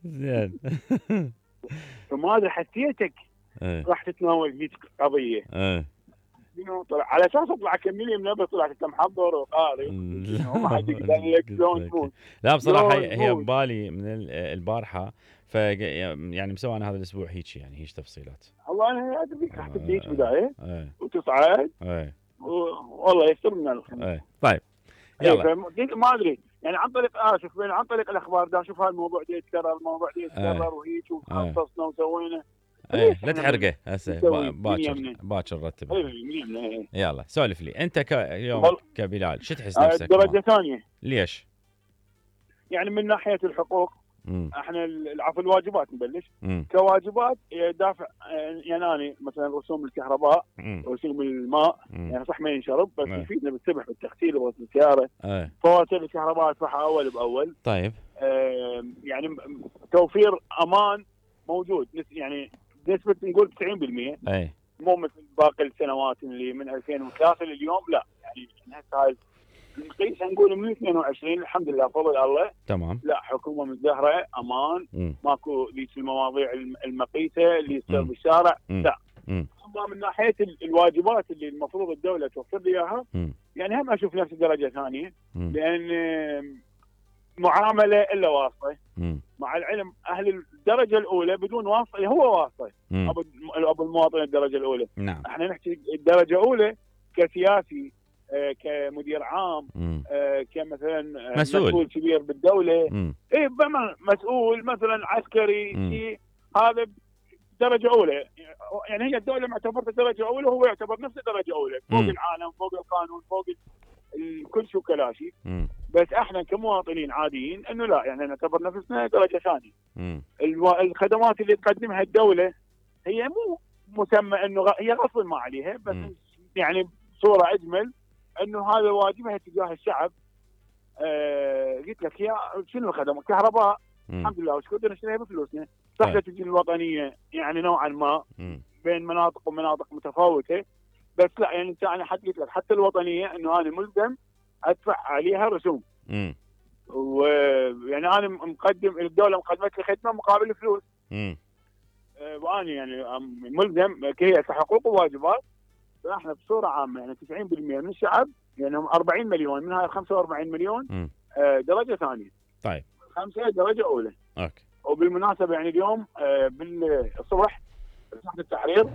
زين. فما ادري حسيتك ايه راح تتناول هيك قضيه. ايه شنو طلع على اساس اطلع اكمل من ابد، طلعت انت محضر وقاري شنو ما حد يقدر لك شلون تموت. لا بصراحه شلون هي تموت. ببالي من البارحه، يعني مسوي انا هذا الاسبوع هيك، يعني هيك تفصيلات. والله انا ادري راح تبديك بدايه ايه وتصعد ايه والله يستر من الخير. ايه طيب اي يلا. ما ادري يعني عن طريق شوف عن طريق الاخبار دا اشوف هالموضوع دا يتكرر، الموضوع دا يتكرر وهيك وخصصنا وسوينا. ايه لا تحرقه هسه، باكر رتب. اي يلا سولف لي انت اليوم كبلال، شو تحس نفسك؟ درجه ثانيه. ليش؟ يعني من ناحيه الحقوق احنا العفو الواجبات نبلش. كواجبات دافع يعني أنا مثلا رسوم الكهرباء، رسوم الماء، يعني صح ما ينشرب بس يفيدنا بالسبح بالتغسيل وغسل السياره. فواتير الكهرباء ادفعها اول باول. طيب يعني توفير امان موجود، يعني بنسبه نقول 90%. اي مو مثل باقي السنوات اللي من 2003 لليوم، لا يعني هسه هاي نقيسها نقول من 22 الحمد لله بفضل الله. تمام. لا حكومه مزدهره امان. ماكو ذيك المواضيع المقيته اللي تصير بالشارع. لا. اما من ناحيه الواجبات اللي المفروض الدوله توفر لي اياها، يعني هم اشوف نفس درجه ثانيه. لان معامله الا واسطه. مع العلم اهل الدرجه الاولى بدون واسطه هو واسطه. ابو المواطن الدرجه الاولى. نعم. احنا نحكي الدرجه الاولى كسياسي، كمدير عام، كمثلا مسؤول كبير بالدوله. اي مسؤول مثلا عسكري شيء، هذا درجه اولى. يعني هي الدوله معتبرته درجه اولى وهو يعتبر نفسه درجه اولى، فوق العالم، فوق القانون، فوق كل شيء كلاشي. بس احنا كمواطنين عاديين انه لا، يعني نعتبر نفسنا درجه ثانيه. الخدمات اللي تقدمها الدوله هي مو مسمى انه هي غصب ما عليها، بس يعني بصوره اجمل انه هذا واجبها تجاه الشعب. قلت لك يا شنو الخدمات؟ كهرباء الحمد لله وشكرا نشتريها بفلوسنا. صح تجي الوطنيه يعني نوعا ما بين مناطق ومناطق متفاوته، بس لا يعني انت انا قلت لك حتى الوطنيه انه انا ملزم ادفع عليها رسوم. ويعني انا مقدم الدوله مقدمت لي خدمه مقابل فلوس. وانا يعني ملزم هي كحقوق وواجبات. فاحنا بصوره عامه يعني 90% من الشعب، يعني هم 40 مليون، من هاي 45 مليون درجه ثانيه. طيب 5 درجه اولى. اوكي. وبالمناسبه يعني اليوم بالصبح تحت التحرير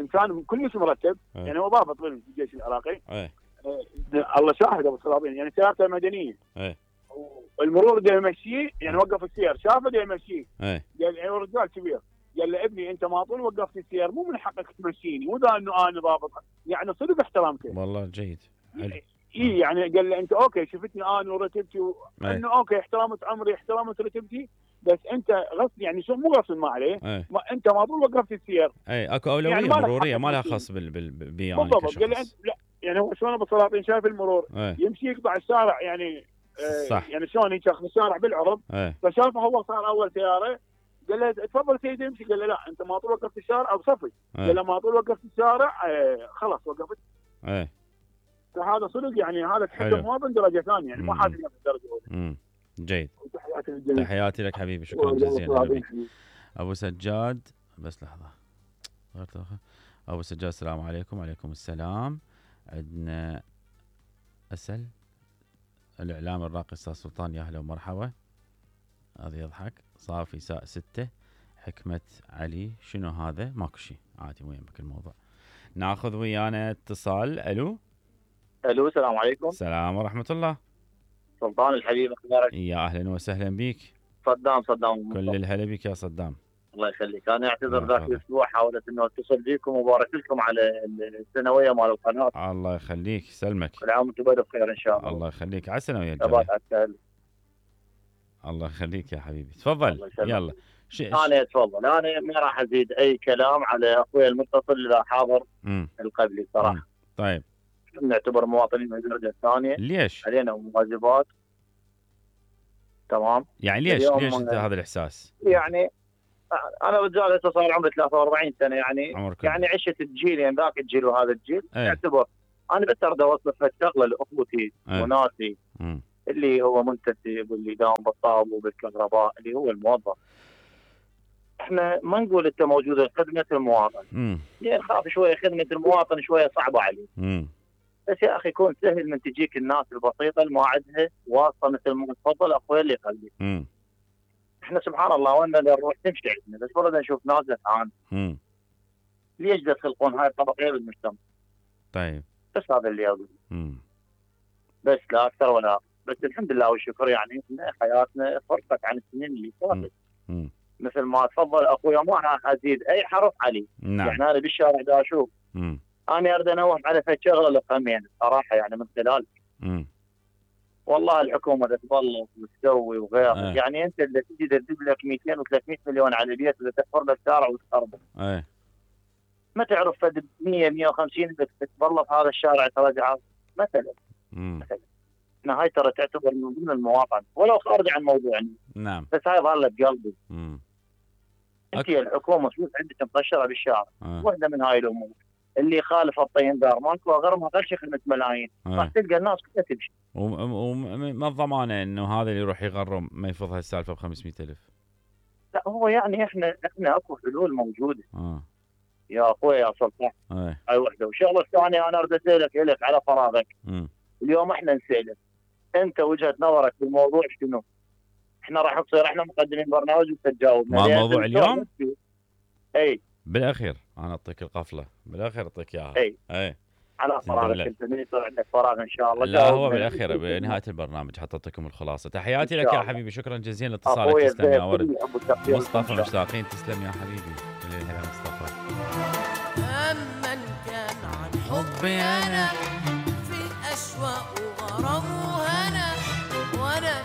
انسان كلش مرتب. يعني هو ضابط بالجيش العراقي. الله شاهد ابو سلاطين، يعني سيارته مدنيه. المرور ده يمشيه، يعني وقف السير شافه ده يمشيه. قال يعني رجال كبير، قال له ابني انت ما طول وقفت السير مو من حقك تمشيني، مو ذا انه انا ضابط، يعني صدق احترامته. والله جيد. اي يعني قال له انت اوكي شفتني انا ورتبتي انه اوكي احترمت عمري، احترمت رتبتي، بس انت غصب يعني شو مو غصب ما عليه. ما انت ما طول وقفت السير. اكو اولويه يعني مروريه ما لها خص بي يعني بالضبط. قال له لا يعني هو شلون ابو سلاطين شايف المرور يمشي يقطع الشارع يعني صح. يعني شلون يشخص الشارع بالعرض. فشافه هو صار اول سياره، قال له تفضل سيدي امشي. قال له لا انت ما طول وقفت الشارع او صفي. قال له ما طول وقفت الشارع خلاص وقفت. فهذا صدق يعني هذا تحس مواطن درجه ثانيه، يعني مو حاسس نفسه درجه اولى. جيد. تحياتي لك حبيبي، شكرا جزيلا. ابو سجاد بس لحظه ابو سجاد السلام عليكم. وعليكم السلام. عندنا اسال الاعلام الراقي استاذ سلطان، يا اهلا ومرحبا. هذا يضحك. صافي ساء 6 حكمة علي. شنو هذا؟ ماكو شيء عادي، وين بك الموضوع. ناخذ ويانا اتصال. الو السلام عليكم. السلام ورحمة الله. سلطان الحبيب اخبارك؟ يا اهلا وسهلا بيك. صدام كل الهلا بك يا صدام. الله يخليك. انا اعتذر ذاك الاسبوع حاولت انه اتصل بيكم وبارك لكم على السنويه مال القناه. الله يخليك سلمك. كل عام وانتم بخير ان شاء الله. الله يخليك. على السنه ويا الجميع. الله يخليك يا حبيبي. تفضل يلا. انا اتفضل. انا ما راح ازيد اي كلام على اخوي المتصل اللي حاضر القبلي صراحه. طيب نعتبر مواطنين من الدرجه الثانيه. ليش؟ علينا واجبات. تمام. يعني ليش انت هذا الاحساس؟ يعني انا رجال هسه صار عمري 43 سنه، يعني عشت الجيل، يعني ذاك الجيل وهذا الجيل. اعتبر انا بس اريد اوصل شغله لاخوتي وناسي اللي هو منتسب واللي يداوم بالطاب وبالكهرباء اللي هو الموظف. احنا ما نقول انت موجوده خدمه المواطن، يعني خاف شويه خدمه المواطن شويه صعبه عليه. بس يا اخي يكون سهل من تجيك الناس البسيطه اللي ما عندها واسطه مثل ما تفضل اخوي اللي يخليك. احنا سبحان الله وين نروح تمشي عندنا، بس والله نشوف ناس جعان. ليش تخلقون هاي الطبقيه بالمجتمع؟ طيب بس هذا اللي اقول. بس لا اكثر ولا أقل. بس الحمد لله والشكر يعني ان حياتنا فرقت عن السنين اللي فاتت. مثل ما تفضل اخوي ما راح ازيد اي حرف عليه. نعم. يعني انا بالشارع دا اشوف. انا اريد انوه على شغله لفهمين صراحه يعني من خلالك. والله الحكومه تتبلط وتسوي وغيره. يعني انت اللي تجي تجيب لك 200 و300 مليون على البيت اللي تحفر له الشارع وتخربه. ما تعرف فد 100 150 بدك تتبلط هذا الشارع ترجعه مثلا. مثلا هاي ترى تعتبر من ضمن المواطن ولو خارج عن موضوعنا. نعم. بس هاي ظلت بقلبي. انت الحكومه شوف عندك مقشره بالشارع. واحده من هاي الامور اللي يخالف الطين دار ماكو غير غير خدمه ملايين. راح تلقى الناس كلها تمشي. وما الضمانه انه هذا اللي يروح يغرم ما يفض هالسالفه ب 500,000؟ لا هو يعني احنا اكو حلول موجوده. يا اخوي يا سلطان. هاي وحده. والشغله الثانيه انا اريد اسالك الك على فراغك. اليوم احنا نسالك انت وجهه نظرك بالموضوع شنو؟ احنا راح نصير احنا مقدمين برنامج وانت تجاوبنا. ما موضوع اليوم؟ اي بالاخير انا اعطيك القفله، بالاخير اعطيك اياها. اي على فراغك انت من يصير عندك فراغ ان شاء الله. لا هو بالاخير بنهايه البرنامج حتى اعطيكم الخلاصه. تحياتي لك يا حبيبي، شكرا جزيلا لاتصالك. تسلم يا ورد. مصطفى مشتاقين. تسلم يا حبيبي. هلا مصطفى. أمن كان عن حبي انا في اشواق وغرام وهنا وانا